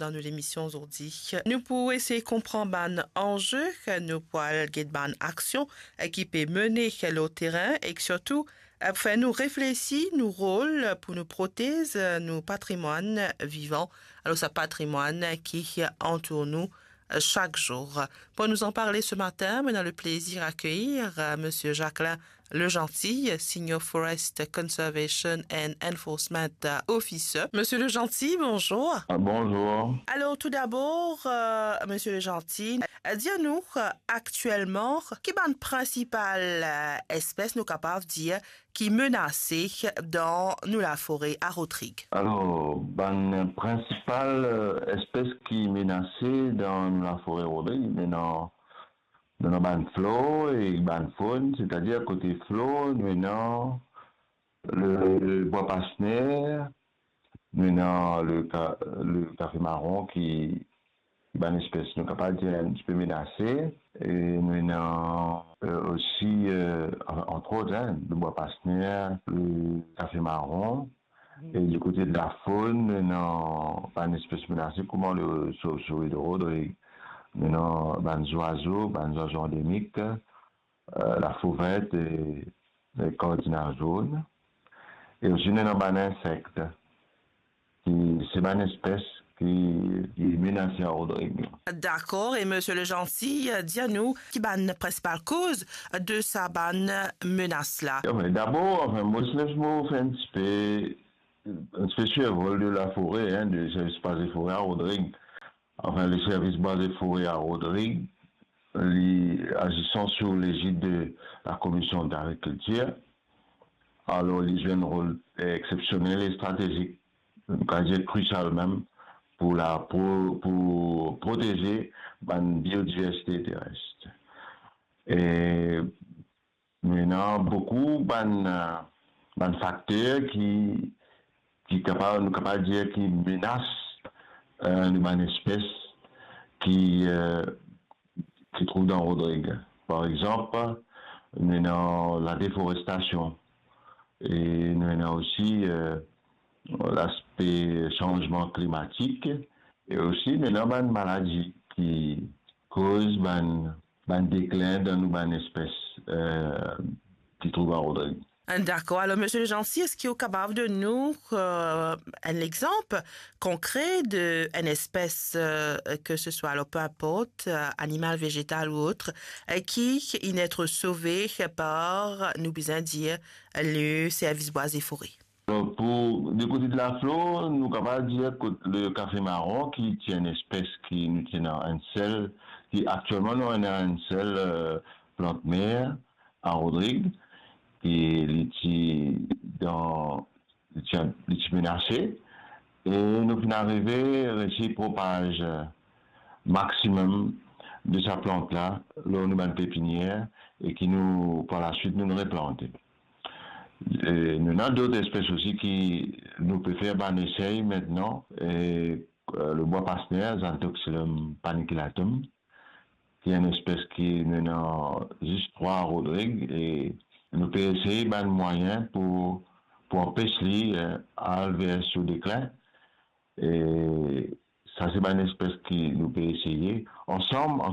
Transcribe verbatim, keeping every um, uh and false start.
dan nou lemision zordi. Nou pou esey konpran bann anze, nou pou al get bann aksion ki pe mene lor terin ek sirtou pou fer nou reflesi nou rol pou nou protez nou patrimwann vivan, alor sa patrimwann ki antour nou sak zour. Pou nou anparle se matin, nou ena leplezir akeyir Misie Jacquelin Legentil, Senior Forest Conservation and Enforcement Officer. Misie Legentil, bonzour. Ah, bonzour. Alor, toudabor, Misie Legentil, dir nou, aktielman, ki bann prinsipal espes nou kapav dir ki menase dan nou lafore a Rodrig? Alor, bann prinsipal espes ki menase dan nou lafore Rodrig, nou ena, nou ena bann flor e bann fonn, setadir kote flor, nou ena le, le bwa pasner, nou ena le ka-, le kafe maron ki, bann espes nou kapav dir enn tipe menase, e nou ena, euh, osi, euh, anfin, antrot, hein, le bwa pasner, le kafe maron, e di kote de lafon, nou ena bann espes menase, kouma le sovsouri de Rodrig, nou ena bann zwazo, bann zwazo andemik, euh, lafovert e, e kardinal zonn. E osi nou ena bann insek, ki se bann espes ki, ki menase a Rodrig. Dakor, e Misie Legentil, dir nou ki bann prinsipal koz de sa bann menas la? Anfin, dabor, anfin, mo, les mo fer enn tipe, enn tipe sirvol de lafore, hein, de Servis Bwa e Fore a Rodrig. Anfin, le Servis Bwa e Fore a Rodrig, li azisan sou lezid de la Komision d'Agrikiltir. Alor, li zwe enn rol, eh, exepsionel e stratezik, nou kapav dir krisial mem, pou la, pou, pou proteze bann biodiversite teres. E nou ena boukou bann, euh, bann fakter ki, ki kapav, nou kapav dir ki menas, euh, nou bann espes ki, euh, ki trouv dan Rodrig. Par exanp, nou ena ladeforestasion e nou ena osi, euh, laspe sanzman klimatik e osi nou ena bann maladi ki koz bann, bann deklin dan nou bann espes, euh, ki trouv a Rodrig. Dakor. Alor, Misie Legentil, eski ou kapav donn nou, euh, enn lexanp konkre de enn espes, euh, ke se swa, alor, pe inport, euh, animal, vezetal ou ot, euh, ki inn et sove par, nou bizin dir, le Servis Bwa e Fore? Alor, pou, de kote de laflor, nou kapav dir kot le kafe maron, ki ti enn espes ki nou ti ena enn sel, ki aktielman nou ena enn sel, euh, plant mer a Rodrig, ki li ti dan, li ti, li ti menase, e nou finn arive resi propaz maximum de sa plant la lor nou bann pepinier e ki nou, par laswit, nou replante. E nou ena dot espes osi ki nou pe fer bann esey aster, e, euh, le bwa pasner, Xanthoxylum paniculatum, ki enn espes ki nou ena zis trwa a Rodrig, e nou pe esey bann mwayin pou, pou anpes li, eh, al ver so deklin. E sa se bann espes ki nou pe eseye ansam,